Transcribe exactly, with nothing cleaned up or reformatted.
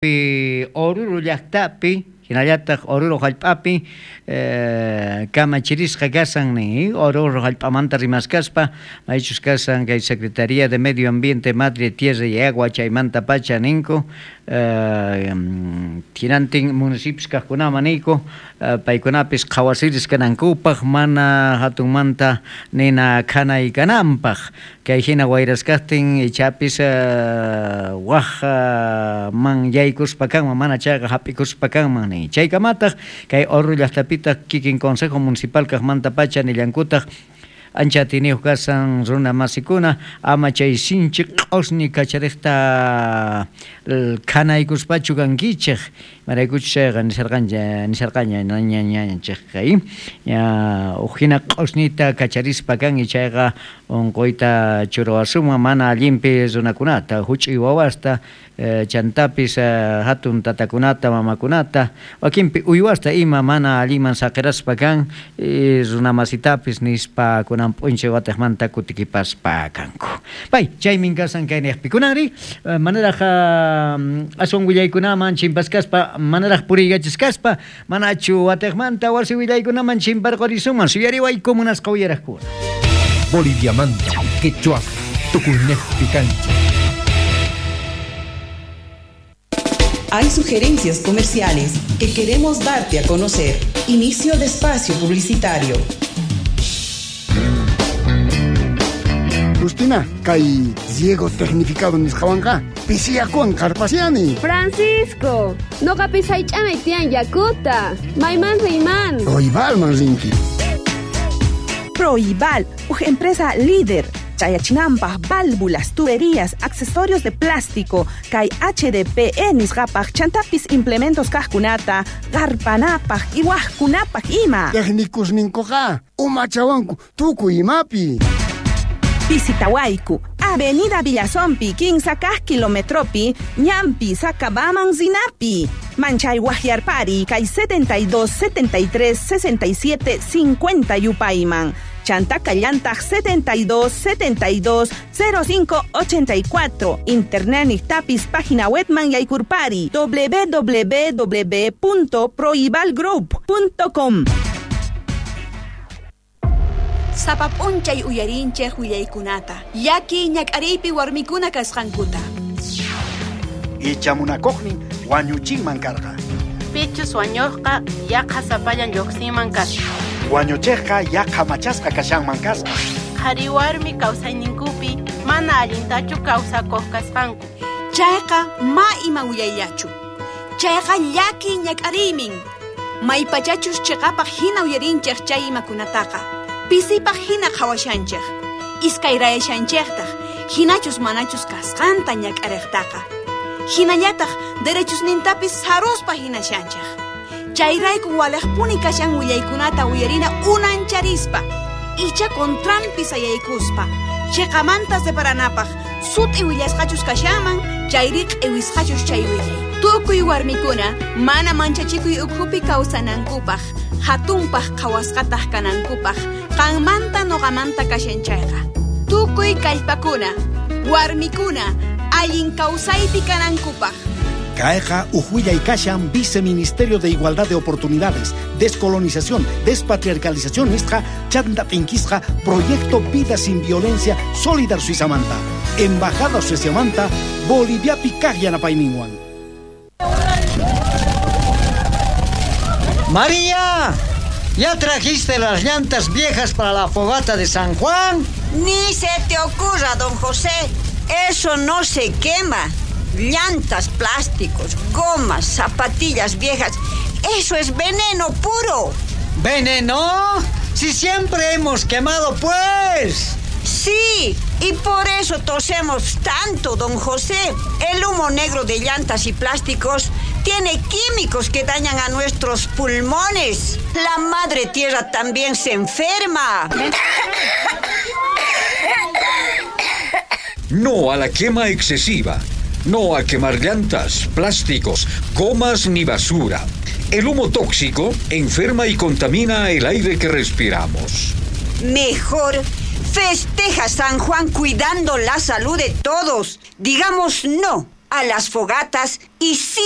Oruro llaqtapi hinallataq Oruro hallp'api eh, kamachirisqa kasan ni Oruro hallp'amanta rimaskaspa maychus kasan kay Secretaría de Medio Ambiente, Madre Tierra y Agua chaymanta pacha ninku eh, hinantin municipios kaqkunaman niyku eh, paykunapis qhawasiris kanankupaq mana hatunmanta nina khanay kananpaq kay hina wayraskaqtin ichapis eh, waj man yaykuspa kanman mana chayqa hap'ikuspa kanman ni chaykamataq kay Oruro llaqtapitaq kikin Consejo Municipal kaqmanta pacha nillankutaq ancha atiniyuq kasan runa masikuna ama chay sinchi q'usñi kachariqta khanaykuspachu kankichik imaraykuchus chayqa nisharqancha nisharqaña ñañanchikqa ña uj hina q'usñita kacharispa kan chayqa unquyta churawasunman mana allinpi runakunata huch'uy wawasta chantapis hatun tatakunata mamakunata wakinpi uywasta ima mana allinman saqiraspa kan runamasitapis nispa kunan p'unchay watiqmanta kutikipaspa kanku. Pay chaymin kasan kayniyaqpi kunanri manaraq aswan willaykunaman chimpaskaspa manaraq puriykachisqaspa manachu watiqmanta wasi willaykunaman chimparqurisuman suyariwayku munasqa uyaraqkuna. Boliviamanta, quechua, tukuynejpi kancha. Hay sugerencias comerciales que queremos darte a conocer. Inicio de espacio publicitario. Justina, kay riego tecnificado nisqawanqa pisiyakuwan qarpasiani. Francisco, noqapis haych'anay tiyan yakuta. Mayman riyman. Proibalman rinki. Proibal, uj empresa líder. Chayachinampaj, válvulas, tuberías, accesorios de plástico, kay H D P E nisqapaj, chantapis implementos kajkunata, qarpanapaj, iwajkunapaj ima. Técnicos ninkuqa, umachawanku, tukuy imapi. Visitawayku, Avenida Villazompi, quince kilometropi, Ñampi, Sacabaman, Zinapi. Manchay Guajiarpari, kay setenta y dos, setenta y tres, sesenta y siete, cincuenta Yupayman. Chantaca Llantaj setenta y dos, setenta y dos, cero cinco, ochenta y cuatro. Internet Tapis, página web man Yaykurpari, doble u doble u doble u punto proibalgroup punto com. Sapap'unchay uyarinchej willaykunata, llaki ñak'ariypi warmikuna kasqankuta. Ichamunakuqnin wañuchinman karqa. Pichus wañuqqa yaqa sapallan lluqsinman kasqa. Wañuchiqqa yaqa machasqa kashanman kasqa. Qhari warmi kawsayninkupi mana allintachu kawsakuq kasqanku. Chayqa ma ima willayllachu. Chayqa llaki ñak'ariymin. Maypachachus chiqapaq hina uyarinchej chay imakunataqa. Pisipaq hina qhawashanchej. Iskayrayashanchejtaq hinachus manachus kasqanta ñak'ariqtaqa. Hinallataq derechusnintapis saruspa hinashanchej. Chayrayku walejpuni kashan willaykunata uyarina unancharispa. Icha contranpi sayaykuspa. Chiqamanta separanapaq sut'i willasqachus kashanman chayri q'iwisqachus chay willay. Tukuy warmikuna mana manchachikuy ukhupi kawsanankupaq, hatunpaq qhawasqataq kanankupaq, qanmanta noqamanta kashan chayqa. Tukuy kallpakuna, warmikuna, allin kawsaypi kanankupaq. Kayqa uj willay kashan Viceministerio de Igualdad de Oportunidades, Descolonización, Despatriarcalización nisqa chanta t'inkisqa Proyecto Vida Sin Violencia Solidar Suizamanta, Embajada Sueziamanta, Boliviapi kaq yanapayninwan. María, ¿ya trajiste las llantas viejas para la fogata de San Juan? Ni se te ocurra, don José. Eso no se quema. Llantas, plásticos, gomas, zapatillas viejas. Eso es veneno puro. ¿Veneno? Si siempre hemos quemado, pues. Sí, y por eso tosemos tanto, don José. El humo negro de llantas y plásticos tiene químicos que dañan a nuestros pulmones. La madre tierra también se enferma. No a la quema excesiva. No a quemar llantas, plásticos, gomas ni basura. El humo tóxico enferma y contamina el aire que respiramos. Mejor festeja San Juan cuidando la salud de todos. Digamos no A las fogatas y sí